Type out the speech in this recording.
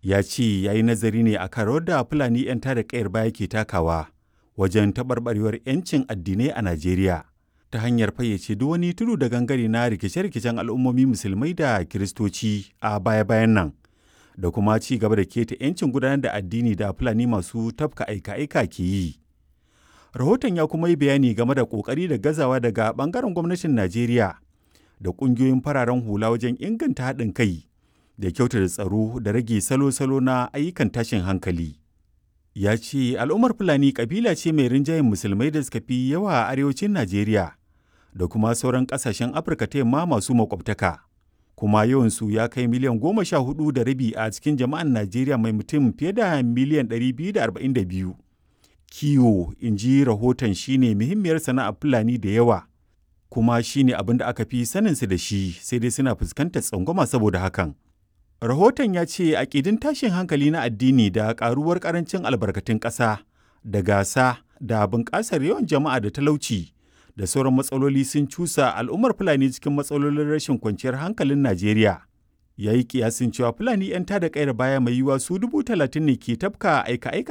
Ya ce ya yi nazari ne a kan rawar da Fulani 'yan tada ƙayar baya ke takawa wajen taɓarɓarewar 'yancin addinai a Najeriya ta hanyar fayyace duk wani tudu da gangare na rikice-rikicen al'ummomi Musulmai da Kiristoci a baya-bayan nan, da kuma ci gaba da keta 'yancin gudanar da addini da Fulani masu tafka aika-aika ke yi. Rahoton ya kuma yi bayani game da ƙoƙari da gazawa daga ɓangaren gwamnatin Najeriya da ƙungiyoyin fararen hula wajen inganta haɗin kai da kyautata tsaro da rage salo-salo na ayyukan tashin hankali. Ya ce al'ummar Fulani ƙabila ce mai rinjayen Musulmai da suka fi yawa a arewacin Najeriya da kuma sauran ƙasashen Afirka ta Yamma masu makwabtaka. Kuma yawansu ya kai miliyan 14.5 a cikin jama'an Najeriya mai mutum fiye da miliyan 242. Kiwo, in ji rahoton, shine muhimmiyar sana'ar Fulani da yawa, kuma shine abin da aka fi saninsu da shi, sai dai suna fuskantar tsangwama saboda hakan. Rahoton ya ce aƙidun tashin hankali na addini da ƙaruwar ƙarancin albarkatun ƙasa da gasa da bunƙasar yawan jama'a da talauci da sauran matsaloli sun cusa al'ummar Fulani cikin matsalolin rashin kwanciyar hankalin Najeriya. Ya yi kiyasin cewa Fulani 'yan tada ƙayar baya mai yiwuwa su 30,000 ne ke tafka aika-aika.